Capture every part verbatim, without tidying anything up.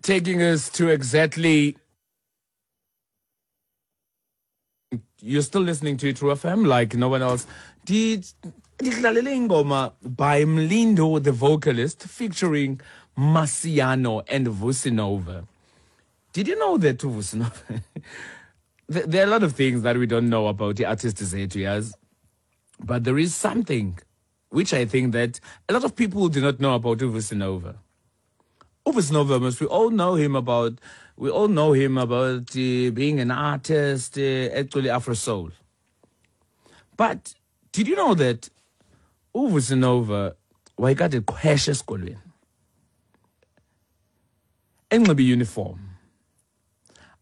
Taking us to exactly. You're still listening to True F M like no one else. Did ndidlalele ingoma by Mlindo the vocalist featuring Marciano and Vusi Nova. Did you know that Vusi Nova? There are a lot of things that we don't know about the artist zethu, yes. But there is something which I think that a lot of people do not know about Vusi Nova. Vusi Nova, we all know him about, we all know him about uh, being an artist, uh, actually Afro Soul. But did you know that Vusi Nova wayekade eqhwesha esikolweni enxibe uniform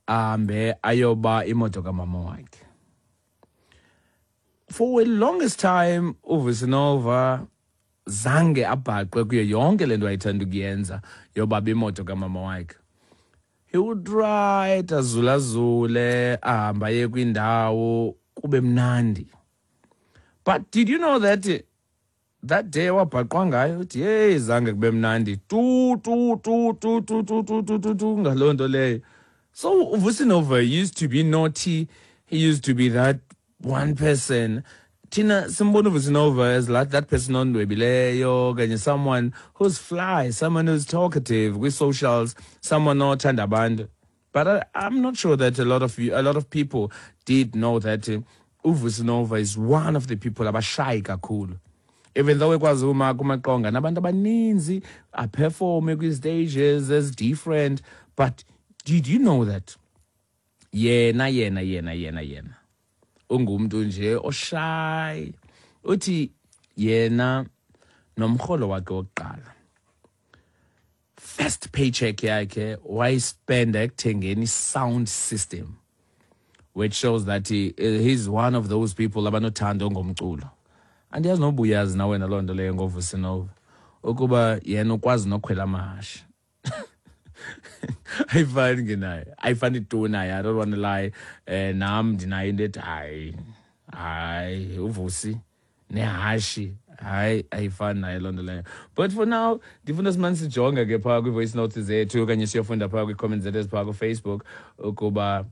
ahambe ayoba imoto kamama wakhe? For the longest time uVusi Nova zange abhaqwe kuyo yonke le nto ayithanda ukuyenza yobaba imoto kamama wakhe. He would ride azulazule ahambe aye kwindawo kube mnandi. But did you know that that day wabhaqwa ngayo uthi hey zange kube mnandi tu tu tu tu tu tu tu tu tu tu ngaloo nto leyo. So Vusi Nova used to be naughty. He used to be that one person. Thina simbona uVusi Nova as like that person ondwebileyo okanye someone who's fly, someone who's talkative with socials, someone othanda abantu. But I, I'm not sure that a lot of you, a lot of people did know that uh, uVusi Nova is one of the people abashy kakhulu. Even though ekwazi uma kumaqonga nabantu abaninzi aperforme kwi-stages as different, but did you know that yena yena yena yena yena ungumntu nje oshy? Uthi yena nomrholo wakhe wokuqala, first paycheck yakhe wayispenda ekuthengeni sound system, which shows that he, he's one of those people abanothando ngomculo. Andiyazi noba uyazi na wena loo nto leyo ngoVusi Nova, ukuba yena ukwazi nokhwela amahashe. Ayifani ke naye, ayifani tu naye. I don't want to lie. Eh, nam ndinayo into ethi hayi hayi uVusi nehashi, hayi ayifani naye loo nto leyo. But for now ndifuna simane sijonge ke phaa kwi-voice notes zethu okanye siyofunda phaa kwii-comments zethu eziphaa kuFacebook ukuba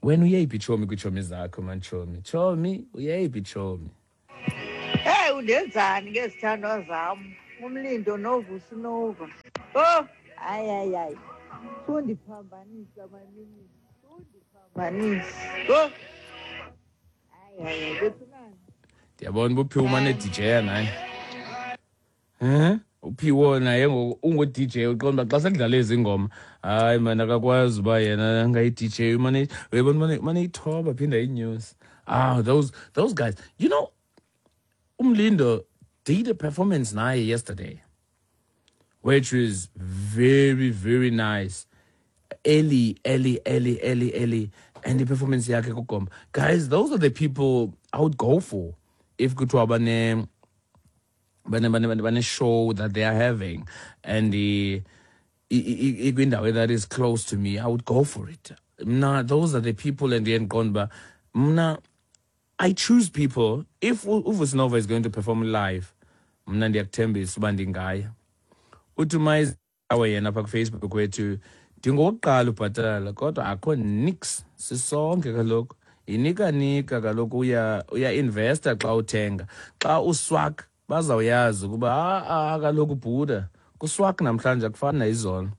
wena uyeyiphi tshomi kwiitshomi zakho man. Tshomi, tshomi, uyeyiphi tshomi? Hey, undenzani ngezithandwa zam uMlindo noVusi Nova? Oh, hayi hayi hayi, sundiphambanisa manini, sundiphambanisa. Oh, hayi hayi, bethunani. Ndiyabona uba uPhiwo umane D J naye. Eh? Uphiwo naye ngoku ungu-D J, uqonda uba xa sekudlala ezi ngoma, hayi man akakwazi uba yena angayi-D J, umane uyabona umane umane eyithoba aphinda ayinyuse. Ah, those, those guys. You know, uMlindo did a performance naye yesterday, which was very, very nice. Early, early, early, early, early. And the performance yakhe kugomba. Guys, those are the people I would go for if kuthiwa bane, bane, bane, bane, bane show that they are having and the ikwindawo that is close to me, I would go for it. Mna, those are the people in the end gone. Mna, I choose people. If uVusi Nova is going to perform live, mna ndiyakuthembisa uba ndingaya. Uthi mayizawe yena apha kuFacebook wethu, ndingowokuqala ubhatala kodwa akho nix, sisonke kaloku. Yinikanika kaloku, uya, uya-investa xa uthenga. Xa uswak bazawuyazi ukuba ah, kaloku bhuda kuswak namhlanje akufani nayizolo.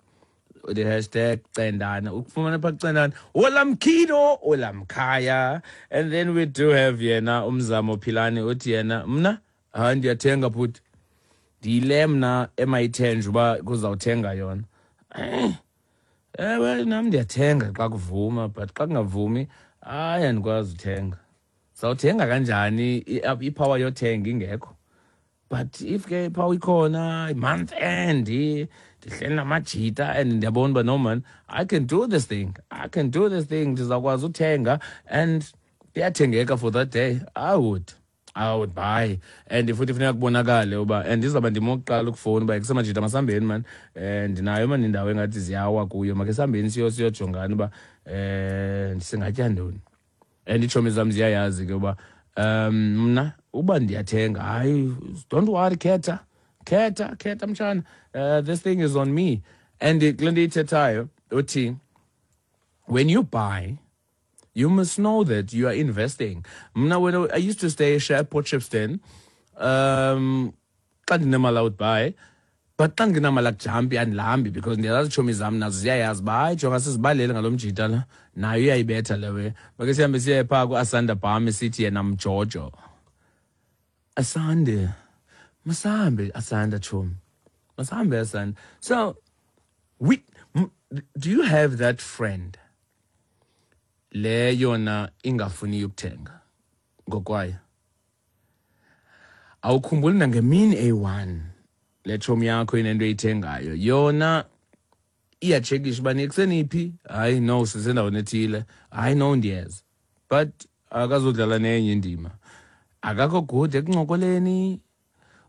The hashtag Cendana, ukufumana pha kuCendana, olamkhido olamkhaya. And then we do have yena uMzamo Philani uthi yena mna hayi ndiyathenga bhuti, ndiyile mna emayithenje uba kuzawuthenga yona. Eh, ewe nam ndiyathenga xa kuvuma, but xa kungavumi hayi andikwazi uthenga. Sawuthenga kanjani ipower yothenga ingekho? But if ke ipower ikhona month end ndihleli namajita and ndiyabona uba no man, I can do this thing, I can do this thing, ndizawukwazi uthenga and iyathengeka for that day, I would, I would buy. And futhi funeka kubonakale uba and ndizawuba ndim owokuqala ukufowuna uba kusemajita masihambeni man, eh, ndinayo man indawo engathi ziyawa kuyo, makhe sihambeni siyo siyojongana uba eh singatya ntoni. And iitshomi zam ziyayazi ke uba um mna uba ndiyathenga, hayi don't worry, khetha khetha khetha mtshana, uh, this thing is on me. And kule nto iyithethayo uthi, when you buy, you must know that you are investing. Mna, when I used to stay at Port Shepstone, um xa ndinemali I would buy, but xa ndingenamali akujampi, andilambi, because ndiyazazi iitshomi zam nazo ziyayazi uba hayi, jonga, sizibalele ngalo mjita la, nayo iyayibetha lewe. Make sihambe siye phaa kuAsanda Bam, sithi yena mjojo. Asande, masambe Asanda, tshomi, masambe Asanda. So we do you have that friend le yona ingafuni ukuthenga ngokwayo? Awukhumbuli nangemini eyi-one le tshomi yakho inento eyithengayo, yona iyatshekisha uba nikuseniphi. Hayi no, sisendaweni ethile. Hayi no, ndiyeza. But akazodlala nenye indima, akakho good ekuncokoleni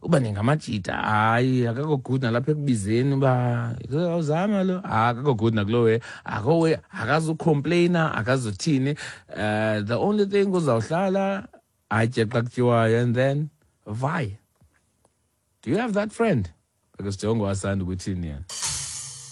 uba ningamajita. Hayi, akakho good nalapha ekubizeni uba awuzama lo, akakho good nakuloo way, akho way, akazucomplaina, akazuthini. uh, the only thing, uzawuhlala atye xa kutyiwayo and then vai. Do you have that friend? Because jongo asanda ukuthini yena.